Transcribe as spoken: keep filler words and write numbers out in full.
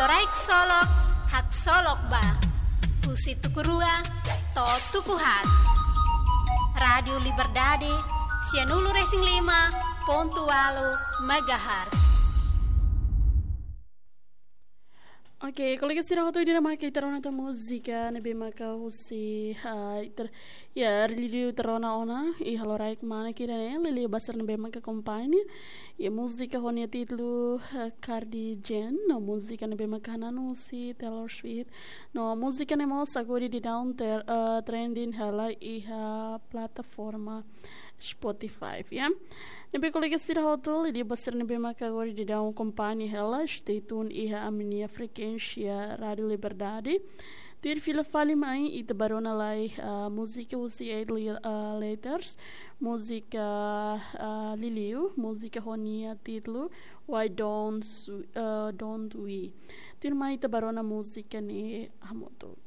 Halorai Ksolok, haksolok ba. Husi tuku rua to'o tuku haat. Rádiu Liberdade, sianulu-resin-lima pontu ualu megahertz. Oke, kolega sira hotu, ida-ne'e maka ita rona tan múzika ne'ebé maka husi, ah, ita, ya, liuliu ita rona ona iha loraik manek ida-ne'e, liuliu ba sira ne'ebé maka akompaña. Ya, múzika ho nia títulu, ah, Cardi Jen, no múzika ne'ebé maka hananu husi Taylor Swift. No múzika ne'e mós agora daudaun ter-, ah, trending hela iha plataforma Spotify, ya. Ne'ebé kolega sira hotu, liuliu ba sira ne'ebé maka agora daudaun akompaña hela, stay tuned iha ami-nia frekuénsia Rádiu Liberdade. Tuir fila fali mai, ita bá rona lai, ah, múzika husi Eight Li-, ah, Letters, múzika, ah, liuliu, múzika ho nia títulu Why Don't Su-, ah, Don't We. Tuirmai ita bá rona múzika ne'e hamutuk.